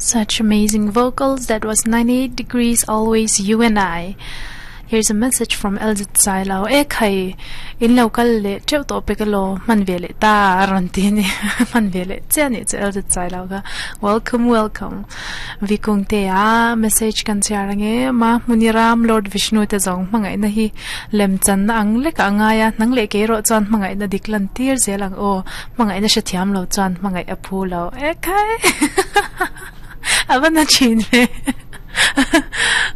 Such amazing vocals. That was 98 Degrees, Always You and I. Here's a message from LZ Sailo. E khai, in lo kal le cheu to pe ka lo man ve le ta ron ti ni man ve le che ni che LZ Sailo ka. Welcome, welcome. Vikung te a message kan chiarange ma Muniram Lord Vishnu te zong mangai na hi lem chan na ang le ka anga ya nang le ke ro chan mangai na diklan tir zelang o mangai na sha thiam lo chan mangai aphu lo. E khai. Avan na chin ve.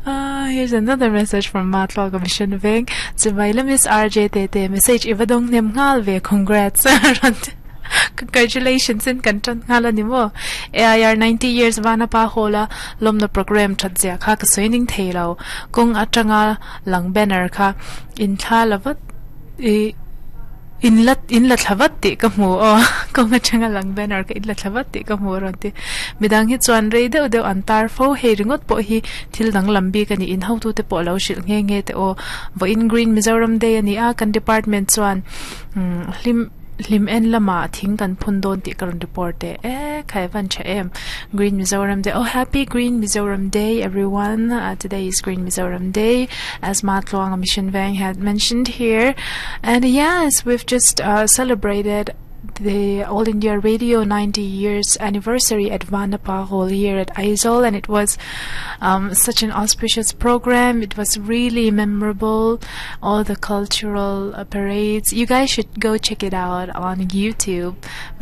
Here's another message from Matlock Mission Veng. Chibai Miss RJ te te message ivadong nem ngal ve congrats. Congratulations in kan chan ngala ni mo. AIR 90 years Vanapa hola lom na program that zia kha ka soining theilo. Kong atanga lang banner kha in thla lavat e in lat in la thlawat ti ka mu o ko nga changa lang banner ka in la thlawat ti ka mu ron ti midang hi chuan rei deuh deuh an tar fo hei ringot po hi thil dang lambi ka ni in ho tu te po lo shil nge nge te o vo in Green Mizoram Day ani a kan department chuan hlim hlim en lama thing kan phun don ti karon report te e khai van cha em Green Mizoram Day. Oh, happy Green Mizoram Day, everyone. Today is Green Mizoram Day, as Matluang Mission Veng had mentioned here. And yes, we've just celebrated the All India Radio 90 years anniversary at Vanapa Hall here at Aizawl, and it was such an auspicious program. It was really memorable. All the cultural parades. You guys should go check it out on YouTube.